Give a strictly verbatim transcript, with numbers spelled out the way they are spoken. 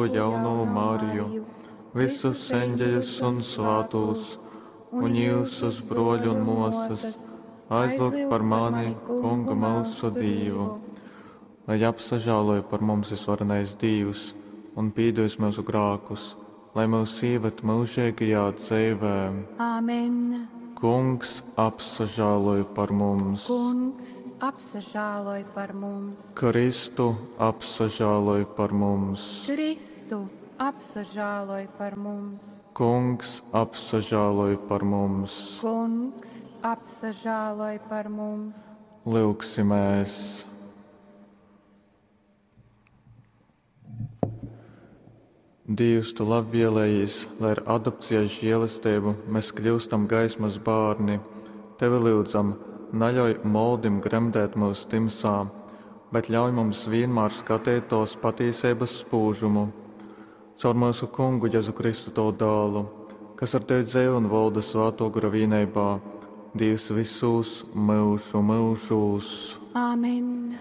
Jaunu Mariju, visus eņģeļus un svātūs, un jūsus, broļi un mosas, aizlūgt par mani, Kungu mūsu Dīvu. Lai apsažāloja par mums visvarenais Dīvs un pīdevis mūsu grākus, lai mūs ieved mūžīgajā dzīvē. Āmen. Kungs apsažāloj par mums. Kungs apsažāloj par mums. Kristu apsažāloj par mums. Kristu apsažāloj par mums. Kungs apsažāloj par mums. Kungs apsažāloj par mums. Lūgsimies! Dievs, tu labvēlējies, lai ar adopcijas žēlastību mēs kļūstam gaismas bērni. Tevi lūdzam, neļauj moldim gremdēt mūs timsā, bet ļauj mums vienmēr skatīt tos patīsības spūžumu. Caur mūsu kungu Jēzu Kristu tavu dēlu, kas ar tevi dzīvo un valda svēto gara vienībā, Dievs visus mūžu mūžus. Āmen.